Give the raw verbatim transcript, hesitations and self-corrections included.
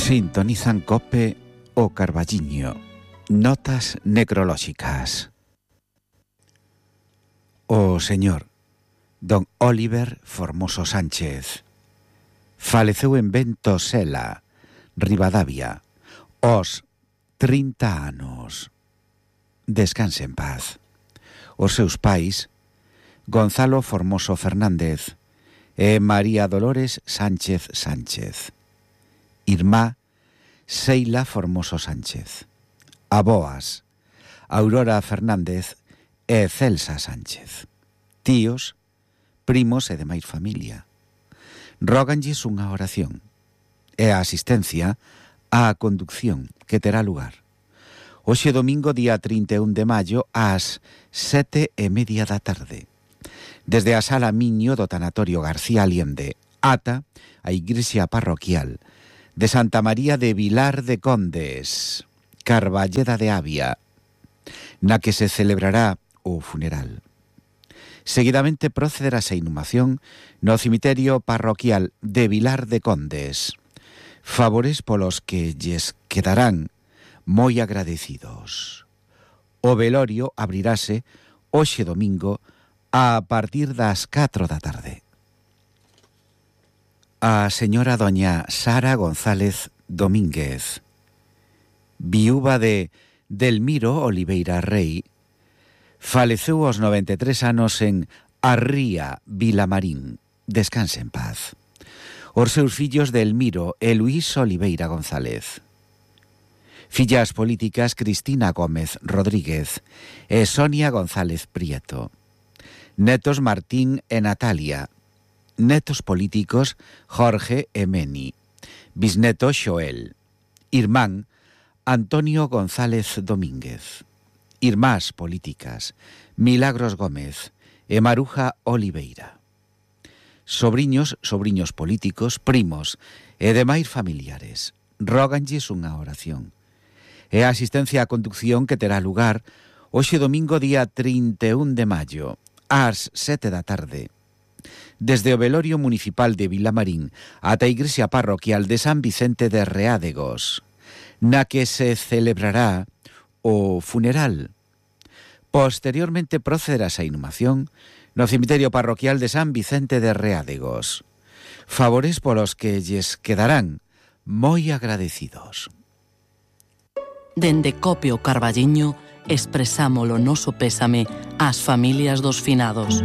Sintonizan Cope o Carballiño. Notas necrolóxicas. O señor don Óliver Formoso Sánchez faleceu en Ventosela, Ribadavia, aos trinta anos. Descanse en paz. Os seus pais, Gonzalo Formoso Fernández e María Dolores Sánchez Sánchez. Irmá, Seila Formoso Sánchez. Aboas, Aurora Fernández e Celsa Sánchez. Tíos, primos e demais familia. Róganlles unha oración e a asistencia á conducción que terá lugar hoxe domingo día trinta e un de maio ás sete e media da tarde desde a sala Miño do Tanatorio García Allende ata a igrexa parroquial de Santa María de Vilar de Condes, Carballeda de Avia, na que se celebrará o funeral. Seguidamente procederá a inhumación no cemiterio parroquial de Vilar de Condes, favores polos que lles quedarán moi agradecidos. O velorio abrirase hoxe domingo a partir das catro da tarde. A señora doña Sara González Domínguez, viúva de Delmiro Oliveira Rei, faleceu aos noventa e tres anos en Arría, Vilamarín. Descanse en paz. Os seus fillos Delmiro e Luís Oliveira González. Fillas políticas Cristina Gómez Rodríguez e Sonia González Prieto. Netos Martín e Natalia. Netos políticos Jorge e Meni. Bisneto Xoel. Irmán Antonio González Domínguez. Irmás políticas Milagros Gómez e Maruja Oliveira. Sobriños, sobriños políticos, primos e demais familiares. Róganlles unha oración e a asistencia á conducción que terá lugar hoxe domingo día trinta e un de maio ás sete da tarde desde o velorio municipal de Vilamarín ata a igrexa parroquial de San Vicente de Reádegos, na que se celebrará o funeral. Posteriormente procederá a inhumación no cemiterio parroquial de San Vicente de Reádegos, favores polos que lles quedarán moi agradecidos. Dende Cope o Carballiño expresamos o noso pésame ás familias dos finados.